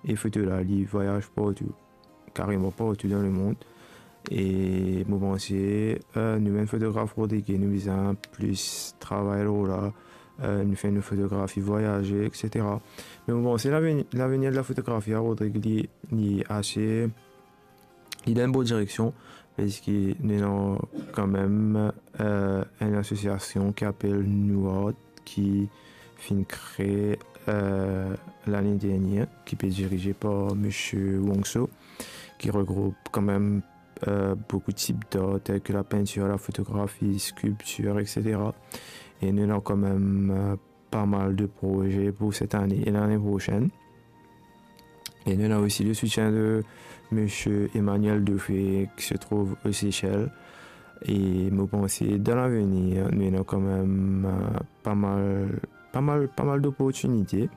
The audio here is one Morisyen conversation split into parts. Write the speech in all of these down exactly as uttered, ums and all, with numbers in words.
e foto la, li vwayaz partou, kareman partou dan lemond. E mo panse, eh, nou bann fotograf rodrigye, nou bizin plis travay lor la, eh, nou fer nou fotografi vwayaze, et cetera. Me mo panse laveni-, lavenir de la fotografi a Rodrig, li, li ase, li dan enn bon direksion, parski nou ena kanmem, eh, enn asosiasion ki apel New Art, ki finn kree, eh, lane dernier, ki pe dirize par misie Wong So, ki regroup kanmem, eh, boukou tip d'art, tel ki lapintir, lafotografi, skilptir, et cetera. E nou ena kanmem, eh, pa mal de proze pou set ane e lane prosenn. E nou ena osi le soutien de misie Emmanuel Dufay, ki se trouv o Sesel. E mo panse, dan lavenir, nou ena kanmem, eh, pa mal, pa mal, pa mal doportinite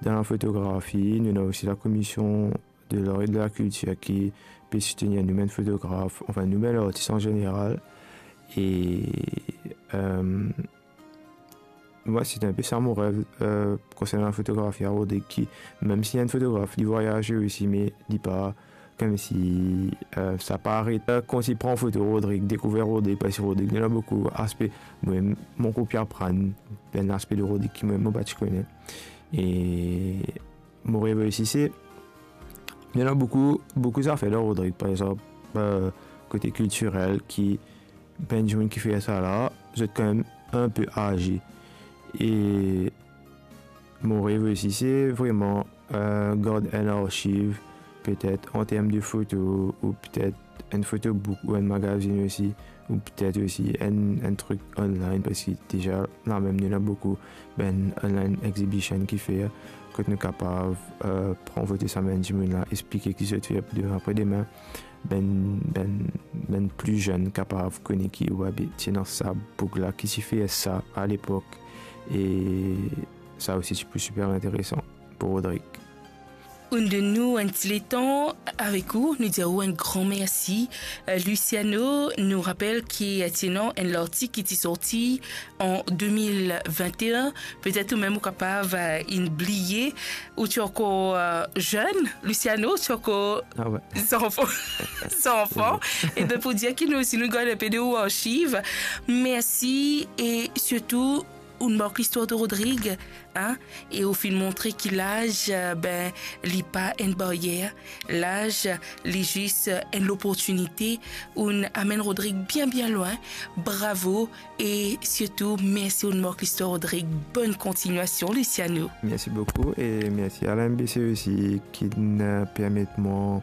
dan lafotografi. Nou ena osi lakomision de lar e de lakiltir ki pe soutenir nou bann fotograf, anfin, nou bann artis an zeneral. E, eh, Mwa, se enpe sa mo rev, eh, konsernan lafotografi a Rodrig, ki, mem si enn fotograf, li vwayaze osi, me li pa, koumsi, eh, sa pa aret, eh, koumsi pran foto Rodrig, dekouver Rodrig, parski Rodrig, li ena boukou aspe. Mwa, mo koup aprann, bann aspe de Rodrig ki mwa, mo pa ti kone. E mo rev osi, se, li ena boukou, boukou zafer dan Rodrig, par exanp, eh, kote kiltirel ki bann dimoun ki fer sa la, zot kanmem inpe aze. E mo rev osi, se vreman, eh, gard enn arsiv, petet an term de foto, ou petet enn fotobook ou enn magazin osi, ou petet osi enn, enn trik online, parski deza lamem nou ena boukou bann online exhibition ki fer, kot nou kapav, eh, pran foto sa bann dimoun la, explike ki zot fer pou demin, apre demin, bann, bann, bann pli zenn kapav kone ki, wi, be, ti ena sa boug la ki ti fer sa alepok. E sa osi ti pou siper interesan pou Rodrig. Ou'nn donn nou enn ti letan avek ou, nou dir ou enn gran mersi. Eh, Luciano, nou rapel ki, eh, ti ena enn lartik ki ti sorti an de mil vinte-enn. Petet ou mem ou kapav, eh, inn bliye, ou ti ankor, eh, zenn, Luciano, ou ti ankor, ah wi, zanfan. Zanfan. E donk pou dir ki nou osi, nou gard inpe de ou arsiv. Mersi e sirtou, ou'nn mark listwar de Rodrig, hein, e ou finn montre ki laz, eh, be, li pa enn baryer. Laz, li zis, eh, enn loportinite, ou'nn amenn Rodrig bien, bien lwin. Bravo. E sirtou, mersi, ou'nn mark listwar, Rodrig. Bonn kontignasion, Luciano. Mersi boukou e mersi a la M B C osi ki'nn, eh, permet mwa,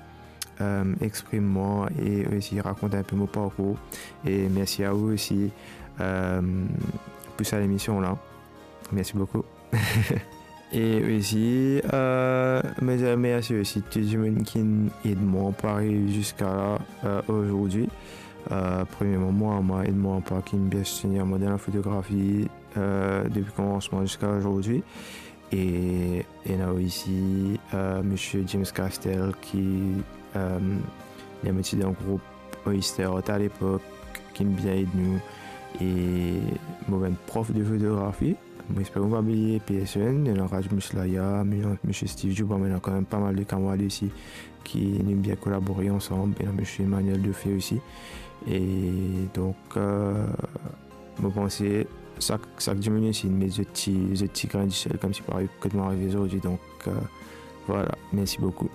eh, exprim mwa e osi rakont inpe mo parkour. E mersi a ou osi, eh, pou sa lemision la. Mersi boukou. E osi, eh, mo dir mersi osi tou dimoun ki'nn ed mwa pou ariv ziska la, eh, azordi. Eh, premierman, mo mama ed mwa pa ki'nn bien soutenir mwa dan lafotografi, eh, depi komansman ziska azordi. E ena osi, eh, misie James Castel ki, eh, li ti dan group Oyster Art alepok, ki'nn bien ed nou. E mo bann prof de fotografi, mo esper mo pa bliye personn, ena Raj Muslaya, misie Steve Djouba, me ena kanmem pa mal de kamarad osi ki nou bien kolabore ansam, ena misie Emmanuel Dufay osi. E donk, eh, mo panse sak, sak dimoun isi inn met zot ti, zot ti grin disel koumsi pou ariv kot mo arive zordi. Donk, eh, vwala, mersi boukou.